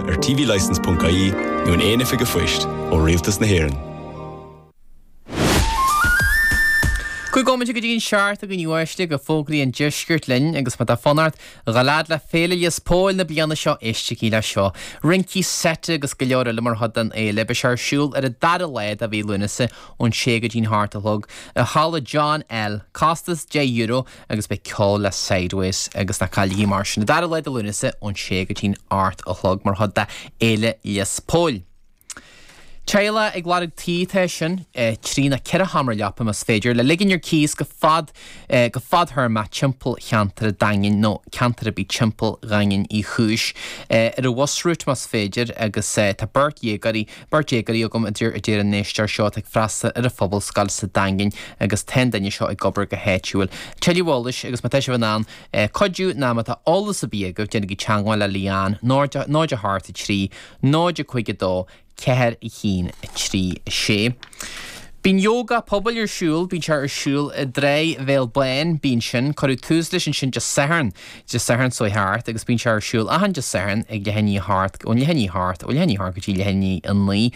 Ar tvlicence.ie nó in aon oifig an phoist ó Rialtas na hÉireann. 5 bhomaite go dtí an seacht a dhaoine uaisle go fógraí an deiscirt linn agus má tá fonn ort a dhul fhad le Féile Lios Póil na bliana seo éistigí le seo. Rincí seite agus go leor eile mar chuid den fhéile. Beidh sé ar siúl ar an dara lá de mhí Lúnasa ón sé go dtí'n hocht a chlog i Halla John L. Costas €10 agus beidh ceol le Sideways agus ná cailligí mar sin an dara lá de Lúnasa ón sé go dtí'n hocht a chlog mar chuid de Fhéile Lios Póil. Teaghlach ag lorg tí atá sin, 3 nó 4 sheomra leapa más féidir, le ligean ar cíos go fad go fadthéarmach timpeall cheantar an Daingin nó ceantar ar bith timpeall Dhaingean Uí Chúis, ar an bus route más féidir agus tá beirt dhéagóirí Beirt déagóirí agam, a deir a deir an éisteoir seo atá ag freastal ar an phobalscoil sa Daingean agus tá an duine seo ag obair go háitiúil. Tuilleadh eolais agus má tá sibh in ann cuidiú ná má tá eolas ar bith agaibh déanaigí teagmháil le Leanne 0 0 8 3 0 5 2 4 1 3 6. Bíonn Yoga Pobail ar siúl, bíonn sé ar siúl i dTráigh Bhéal Bán, bíonn sin, cuireadh tús leis ansin Dé Sathairn, Dé Sathairn seo thart agus bíonn sé ar siúl achan Dé Sathairn ag leath i ndiaidh a hocht, ón leath i ndiaidh a hocht, ó leath i ndiaidh a hocht go dtí leath i ndiaidh a naoi.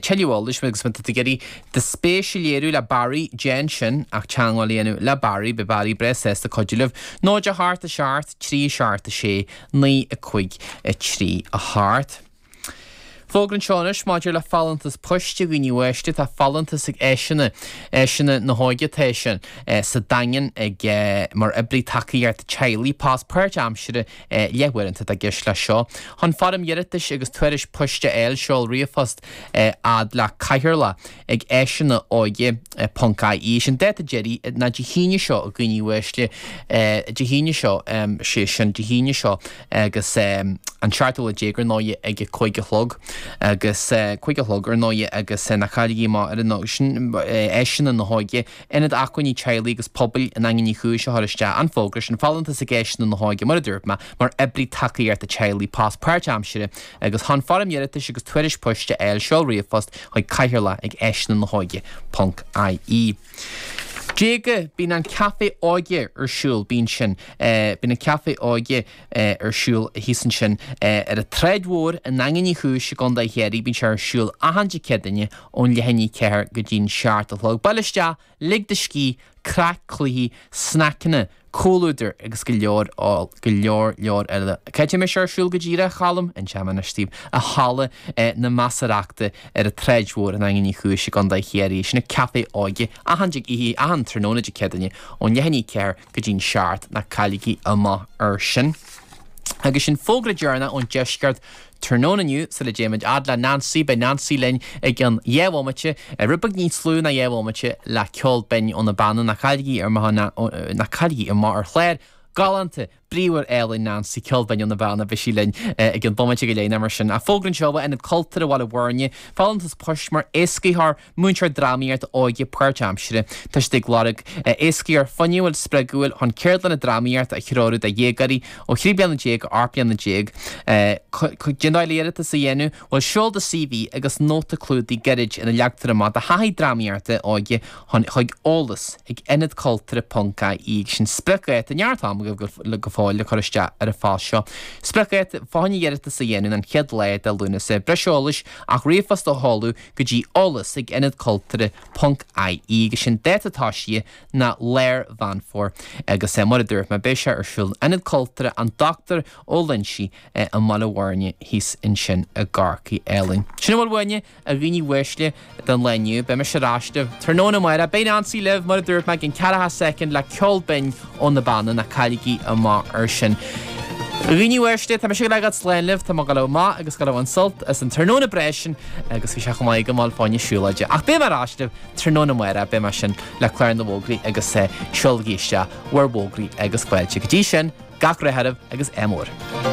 Tuilleadh eolais agus má tá tú ag iarraidh do spéis a léiriú le Barry, déan sin ach teagmháil a dhéanamh le Barry, beidh Barry breá sásta cuidiú libh. 0 8 7 3 7 6 9 5 3 8. Fógra anseo anois maidir le folúntas poist a dhaoine uaisle, tá folúntas ag Áiseanna, Áiseanna na hÓige atá sin, sa Daingean ag mar oibrí tacaíochta teaghlaigh, post páirtaimseartha leathuaireanta atá i gceist leis seo. Chun foirm iarratais agus tuairisc poist a fháil, seol ríomhphost fhad le Cathaoirleach ag áiseanna óige ponc ie. Sin dáta deiridh ná Dé hAoine seo a dhaoine uaisle, Dé hAoine seo, sé sin Dé hAoine seo. agus an seachtú lá déag ar ndóighe ag a 5 a chlog agus 5 a chlog ar ndóighe agus ná cailligí amach ar an sin Áiseanna na hÓige, Ionad Acmhainní Teaghlaigh agus Pobail i nDaingean Uí Chúis a chuir isteach an fógra sin, folúntas ag Áiseanna na hÓige mar a dúirt mé, mar oibrí tacaíochta teaghlaigh, post páirtaimseartha agus chun foirm iarratais agus tuairisc poist a fháil seol ríomhphost chuig cathaoirleach ag áiseanna na hóige ponc ie. Déaga, bíonn an Café Óige ar siúl, bíonn sin, bíonn an Café Óige ar siúl thíos ansin ar an tSráid Mhór i nDaingean Uí Chúis i gContae Chiarraí, bíonn sé ar siúl achan Dé Céadaoine ón leath i ndiaidh 4 go dtí'n seacht a chlog. Bail isteach, lig do scíth, craic, cluichí, sneaiceanna, comhluadar agus go leor, go leor leor eile. Cá háit a mbeidh sé ar siúl go díreach, a Cholm? Inseoidh mé anois daoibh. I Halla na Measarachta ar an tSráid Mhór i nDaingean Uí Chúis i gContae Chiarraí. Sin an Café Óige achan oíche, achan tráthnóna Dé Céadaoine ón leath i ndiaidh 4 go dtí'n seacht. Ná cailligí amach ar sin. Agus sin fógra deireanach ón deisceart Tráthnóna inniu, sula dtéimid fhad le Nancy, beidh Nancy linn i gcionn dhá bhomaite, rud beag níos lú ná dhá bhomaite, le ceol binn ó na Beanna. Ná cailligí amach, ná cailligí amach ar chlár galánta, bríomhar álainn Nancy, ceol binn ó na Beanna, beidh sí linn i gcionn bomaite go leith nó mar sin. Ach fógra anseo ó Ionad Cultúrtha Bhaile Bhuirne, folúntas poist mar éascaitheoir Múinteoir drámaíochta óige páirtaimseartha, tá siad ag lorg éascaitheoir fuinniúil, spreagúil chun ceardlanna drámaíochta a threorú do dhéagóirí ó 13 bliana go 18 bliana. Cén dóigh le iarratas a dhéanamh? Bhuel, seol do CV agus nóta clúdaigh gairid ina leagtar amach do thaithí drámaíochta óige chun chuig eolas ag ionadcultúrtha.ie agus sin spriocdháta, neart ama agaibh go fóill le cur isteach ar an phost seo. Spriocdháta fá choinne iarratas a dhéanamh an chéad lá de Lúnasa. Breis eolais ach ríomhphost a sheoladh go dtí eolas ag ionadcultúrtha ponc ie agus sin dáta tosaithe ná lár Mheán Fómhair agus mar a dúirt mé beidh sé ar siúl in Ionad Cultúrtha an Dr Ó Loinsigh i mBaile Bhuirne thíos ansin i gCorcaigh álainn. Sin a bhfuil uainne a dhaoine uaisle don lá inniu. Beidh mise ar ais libh tráthnóna amárach. Beidh Nancy libh mar a dúirt mé i gcionn ceathracha soicind le ceol binn ó na Beanna, ná cailligí amach ar sin. A dhaoine uaisle, tá mise ag gabháil slán libh, tá mé ag gabháil amach agus ag gabháil a bhaint sult as an tráthnóna breá sin agus bhí sé chomh maith agam a ghabháil fá choinne siúlóide. Ach beidh mé ar ais libh tráthnóna amárach, beidh mé sin le clár na bhfógraí agus seolaigí isteach bhur bhfógraí agus fáilte. Go dtí sin, gach rath oraibh agus ádh mór.